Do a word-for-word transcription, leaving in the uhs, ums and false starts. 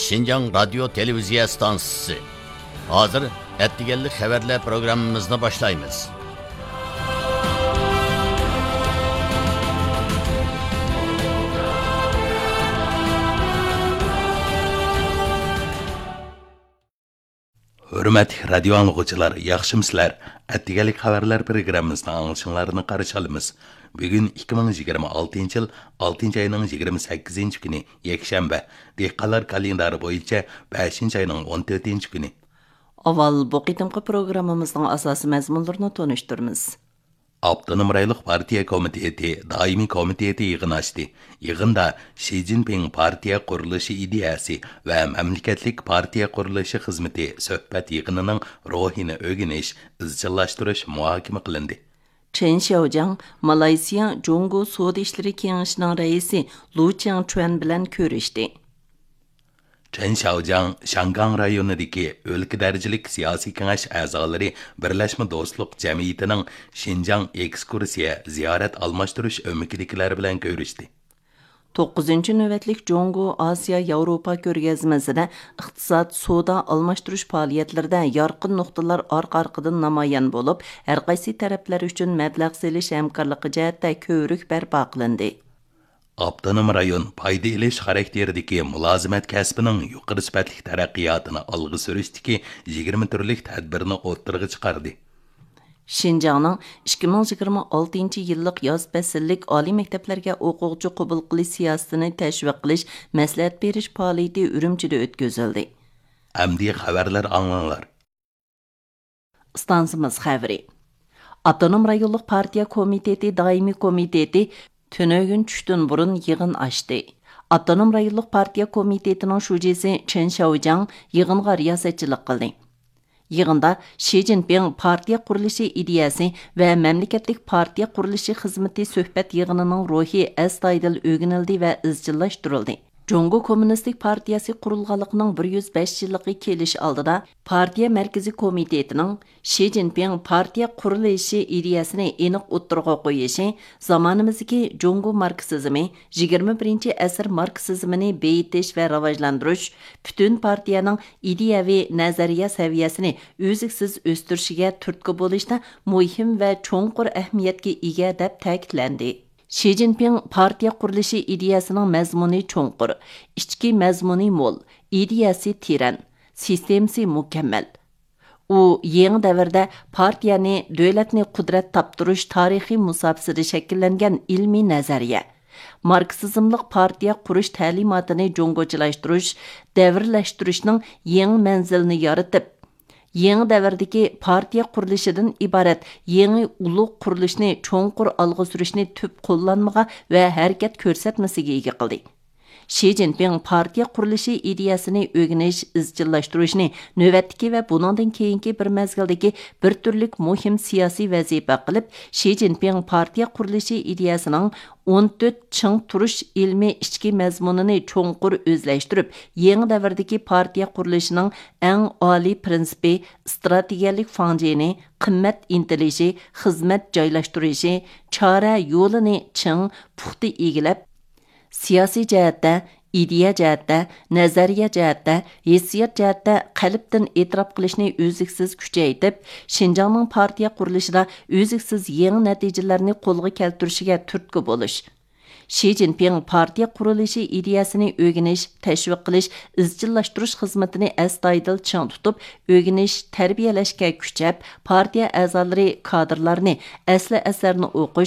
شىنجاڭ رادىيو تېلېۋىزىيە ئىستانسىسى. ھازىر ئەتىگەنلىك خەۋەرلەر پروگراممىمىزنى باشلايمىز. ھۆرمەتلىك رادىيو ئاڭلىغۇچىلار، ياخشىمۇسىلەر؟ ئەتىگەنلىك خەۋەرلەر پروگراممىسىنى ئاڭلىشىڭلارنى قارشى ئالىمىز. بۈگۈن ئىككى مىڭ يىگىرمە ئالتىنچى يىل ئالتىنچى ئاينىڭ يىگىرمە سەككىزىنچى كۈنى، يەكشەنبە. دېھقانلار كالېندارى بويىچە بەشىنچى ئاينىڭ ئون تۆتىنچى كۈنى. ئاۋۋال بۇ قېتىمقى پروگراممىمىزنىڭ ئاساسىي مەزمۇنلىرىنى تونۇشتۇرىمىز. ئاپتونوم رايونلۇق پارتىيە كومىتېتى دائىمىي كومىتېتى يىغىن ئاچتى. يىغىندا شى جىنپىڭ پارتىيە قۇرۇلۇشى ئىدىيەسى ۋە مەملىكەتلىك پارتىيە قۇرۇلۇشى خىزمىتى سۆھبەت يىغىنىنىڭ روھىنى ئۆگىنىش، ئىزچىللاشتۇرۇش مۇھاكىمە قىلىندى. چېن شياۋجياڭ مالايسىيا جۇڭگو سودا ئىشلىرى كېڭىشىنىڭ رەئىسى لۇ چياڭچۈەن بىلەن كۆرۈشتى. چېن شياۋجياڭ شياڭگاڭ رايونىدىكى ئۆلكە دەرىجىلىك سىياسىي كېڭەش ئەزالىرى بىرلەشمە دوستلۇق جەمئىيىتىنىڭ شىنجاڭ ئېكسكۇرسىيە زىيارەت ئالماشتۇرۇش ئۆمىكىدىكىلەر بىلەن كۆرۈشتى. توققۇزىنچى نۆۋەتلىك جۇڭگو ئاسىيا ياۋروپا كۆرگەزمىسىدە ئىقتىساد، سودا ئالماشتۇرۇش پائالىيەتلىرىدە يارقىن نۇقتىلار ئارقا-ئارقىدىن نامايان بولۇپ، ھەرقايسى تەرەپلەر ئۈچۈن مەبلەغ سېلىش ھەمكارلىقى جەھەتتە كۆۋرۈك بەرپا قىلىندى. ئاپتونوم رايون پايدا ئېلىش خاراكتېرىدىكى مۇلازىمەت كەسپىنىڭ يۇقىرى سۈپەتلىك تەرەققىياتىنى ئالغا سۈرۈشتىكى يىگىرمە تۈرلۈك تەدبىرنى ئوتتۇرىغا چىقاردى. شىنجاڭنىڭ ئىككى مىڭ يىگىرمە ئالتىنچى يىللىق ياز پەسىللىك ئالىي مەكتەپلەرگە ئوقۇغۇچى قوبۇل قىلىش سىياسىتىنى تەشۋىق قىلىش، مەسلىھەت بېرىش پائالىيىتى ئۈرۈمچىدە ئۆتكۈزۈلدى. ئەمدى خەۋەرلەر ئاڭلاڭلار. ئىستانسىمىز خەۋىرى. ئاپتونوم رايونلۇق پارتىيە كومىتېتى دائىمىي كومىتېتى تۈنۈگۈن چۈشتىن بۇرۇن يىغىن ئاچتى. ئاپتونوم رايونلۇق پارتىيە كومىتېتىنىڭ شۇجىسى چېن شياۋجياڭ يىغىنغا رىياسەتچىلىك قىلدى. يىغىندا شى جىنپىڭ پارتىيە قۇرۇلۇشى ئىدىيەسى ۋە مەملىكەتلىك پارتىيە قۇرۇلۇشى خىزمىتى سۆھبەت يىغىنىنىڭ روھى ئەستايىدىل ئۆگىنىلدى ۋە ئىزچىللاشتۇرۇلدى. جۇڭگو كوممۇنىستىك پارتىيەسى قۇرۇلغانلىقىنىڭ بىر يۈز بەش يىللىقى كېلىش ئالدىدا، پارتىيە مەركىزىي كومىتېتىنىڭ شى جىنپىڭ پارتىيە قۇرۇلۇشى ئىدىيەسىنى ئېنىق ئوتتۇرىغا قويۇشى، زامانىمىزدىكى جۇڭگو ماركسىزمى، يىگىرمە بىرىنچى ئەسىر ماركسىزمىنى بېيىتىش ۋە راۋاجلاندۇرۇش، پۈتۈن پارتىيەنىڭ ئىدىيەۋى نەزەرىيە سەۋىيەسىنى ئۈزلۈكسىز ئۆستۈرۈشىگە تۈرتكە بولۇشتا مۇھىم ۋە چوڭقۇر ئەھمىيەتكە ئىگە، دەپ تەكىتلەندى. شى جىنپىڭ پارتىيە قۇرۇلۇشى ئىدىيەسىنىڭ مەزمۇنى چوڭقۇر، ئىچكى مەزمۇنى مول، ئىدىيەسى تېرەن، سىستېمىسى مۇكەممەل. ئۇ يېڭى دەۋردە پارتىيەنى دۆلەتنى قۇدرەت تاپتۇرۇش تارىخىي مۇساپىسىدە شەكىللەنگەن ئىلمىي نەزەرىيە، ماركسىزملىق پارتىيە قۇرۇش تەلىماتىنى جۇڭگوچىلاشتۇرۇش، دەۋرلەشتۈرۈشنىڭ يېڭى مەنزىلىنى يارىتىپ، يېڭى دەۋردىكى پارتىيە قۇرۇلۇشىدىن ئىبارەت يېڭى ئۇلۇغ قۇرۇلۇشنى چوڭقۇر ئالغا سۈرۈشنى تۈپ قوللانمىغا ۋە ھەرىكەت كۆرسەتمىسىگە ئىگە قىلدى. شى جىنپىڭ پارتىيە قۇرۇلۇشى ئىدىيەسىنى ئۆگىنىش، ئىزچىللاشتۇرۇشنى نۆۋەتتىكى ۋە بۇنىڭدىن كېيىنكى بىر مەزگىلدىكى بىر تۈرلۈك مۇھىم سىياسىي ۋەزىپە قىلىپ، شى جىنپىڭ پارتىيە قۇرۇلۇشى ئىدىيەسىنىڭ ئون تۆت چىڭ تۇرۇش ئىلمىي ئىچكى مەزمۇنىنى چوڭقۇر ئۆزلەشتۈرۈپ، يېڭى دەۋردىكى پارتىيە قۇرۇلۇشىنىڭ ئەڭ ئالىي پىرىنسىپى، ئىستراتېگىيەلىك فاڭجېنى، قىممەت ئىنتىلىشى، خىزمەت جايلاشتۇرۇشى، چارە يولىنى چىڭ، پۇختا ئىگىلەپ، سىياسىي جەھەتتە، ئىدىيە جەھەتتە، نەزەرىيە جەھەتتە، ھېسسىيات جەھەتتە قەلبتىن ئېتىراپ قىلىشنى ئۈزلۈكسىز كۈچەيتىپ، شىنجاڭنىڭ پارتىيە قۇرۇلۇشىدا ئۈزلۈكسىز يېڭى نەتىجىلەرنى قولغا كەلتۈرۈشىگە تۈرتكە بولۇش. شى جىنپىڭ پارتىيە قۇرۇلۇشى ئىدىيەسىنى ئۆگىنىش، تەشۋىق قىلىش، ئىزچىللاشتۇرۇش خىزمىتىنى ئەستايىدىل چىڭ تۇتۇپ، ئۆگىنىش، تەربىيەلەشكە كۈچەپ، پارتىيە ئەزالىرى، كادىرلارنى ئەسلى ئەسەرنى ئوقۇش،